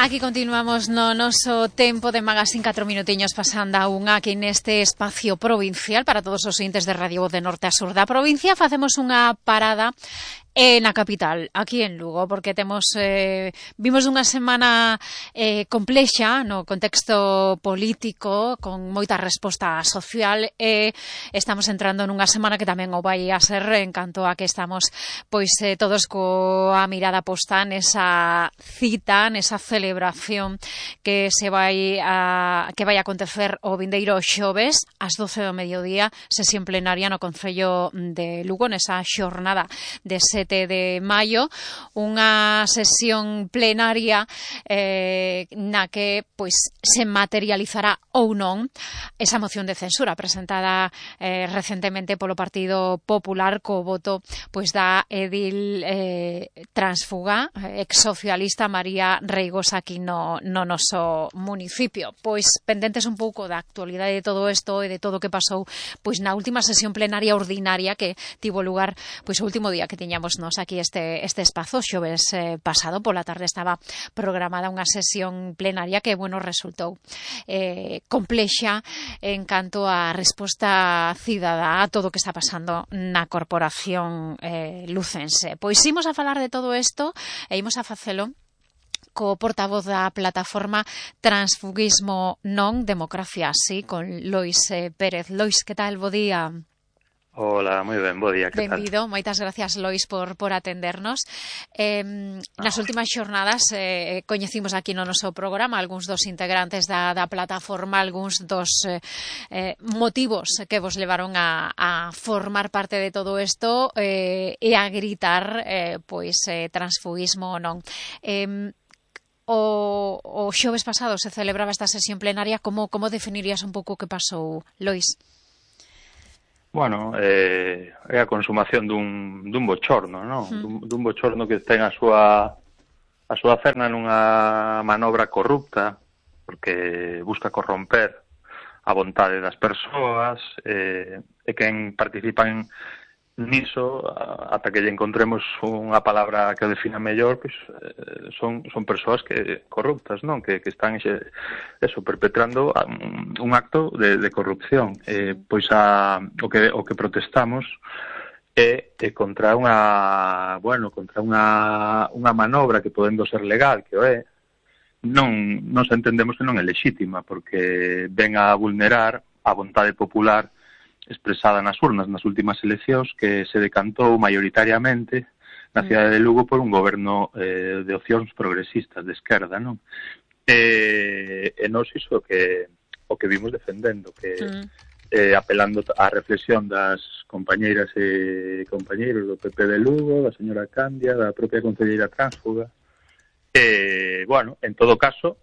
Aquí continuamos no noso tempo de Magazine, 4 minutiños pasando a unha aquí neste espacio provincial para todos os ointes de Radio Voz de Norte a Sur da provincia. Facemos unha parada na capital, aquí en Lugo, porque vimos unha semana complexa no contexto político, con moita resposta social, e estamos entrando nunha semana que tamén o vai a ser en canto a que estamos todos coa mirada posta nesa cita, nesa celebración que vai a acontecer o vindeiro xoves ás 12 do mediodía, sesión plenaria no Concello de Lugo, nesa xornada de 7 de maio, unha sesión plenaria na que se materializará ou non esa moción de censura presentada recentemente polo Partido Popular co voto da edil transfuga ex-socialista María Reigosa aquí no noso municipio. Pendentes un pouco da actualidade de todo isto e de todo o que pasou na última sesión plenaria ordinaria que tivo lugar o último día que tiñamos nos aquí este espazo, xoves pasado pola tarde estaba programada unha sesión plenaria que, resultou complexa en canto á resposta cidadá a todo o que está pasando na corporación lucense. Imos a falar de todo isto e imos a facelo co portavoz da plataforma Transfugismo Non, Democracia Así, con Lois Pérez. Lois, que tal? Bo día. Hola, moi ben, bo día, que tal? Benvido, moitas gracias, Lois, por atendernos. Nas últimas xornadas coñecimos aquí no noso programa algúns dos integrantes da plataforma, algúns dos motivos que vos levaron a formar parte de todo isto e a gritar transfugismo non. O xoves pasado se celebraba esta sesión plenaria. Como definirías un pouco o que pasou, Lois? Bueno, é a consumación dun bochorno, non? Dun bochorno que ten a súa ferna nunha manobra corrupta, porque busca corromper a vontade das persoas, e quen participan niso, ata que lle encontremos unha palabra que o defina mellor, son persoas corruptas, non? Que están perpetrando un acto de corrupción. O que protestamos é contra unha manobra que podendo ser legal, que o é, non entendemos que non é lexítima, porque ven a vulnerar a vontade popular expresada nas urnas nas últimas eleccións, que se decantou maioritariamente na cidade de Lugo por un goberno de opcións progresistas de esquerda, non? E nós iso o que vimos defendendo, que apelando á reflexión das compañeiras e compañeiros do PP de Lugo, da señora Candia, da propia concelleira transfuga, en todo caso,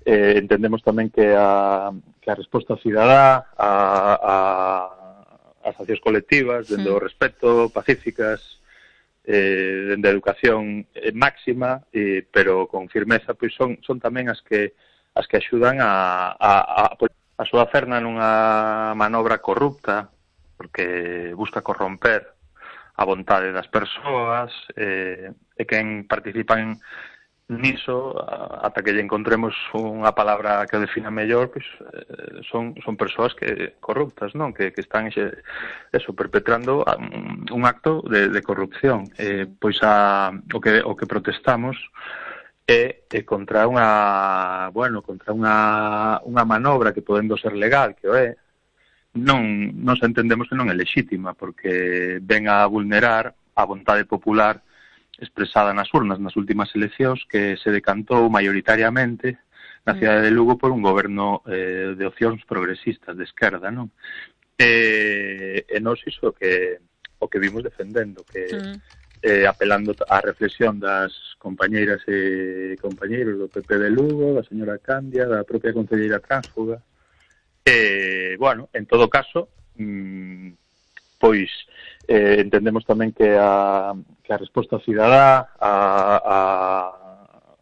entendemos tamén que a resposta cidadá as accións colectivas, dende o respeto, pacíficas, dende a educación máxima, pero con firmeza, son tamén as que axudan a súa ferna nunha manobra corrupta, porque busca corromper a vontade das persoas, e quen participan niso, ata que lle encontremos unha palabra que o defina mellor, son persoas corruptas, non? Que están perpetrando un acto de corrupción. O que protestamos é contra unha manobra que podendo ser legal, que o é, non entendemos que non é lexítima, porque ven a vulnerar a vontade popular expresada nas urnas nas últimas eleccións, que se decantou maioritariamente na cidade de Lugo por un goberno de opcións progresistas de esquerda, non? E nós iso o que vimos defendendo, que apelando á reflexión das compañeiras e compañeiros do PP de Lugo, da señora Candia, da propia concelleira transfuga, en todo caso, entendemos tamén que a resposta cidadá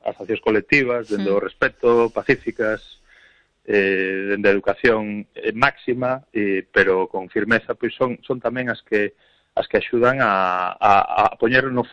as accións colectivas, dende o respeto, pacíficas, dende a educación máxima, pero con firmeza, son tamén as que axudan a poñer no